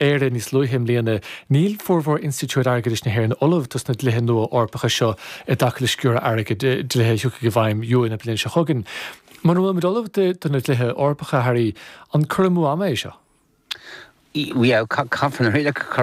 Éire níos luaithe i mbliana, níl formhór institiúid airgeadais na hÉireann ullamh dos na dlíthe nua Eorpacha seo i dtaca le sciúradh airgid, dlíthe a thiocfaidh i bhfeidhm na bliana seo chugainn. Muna bhfuil muid ullamh do na dlíthe Eorpacha, a Harry, an cur amú ama é seo? Yeah, caithfear na rialacha a chur.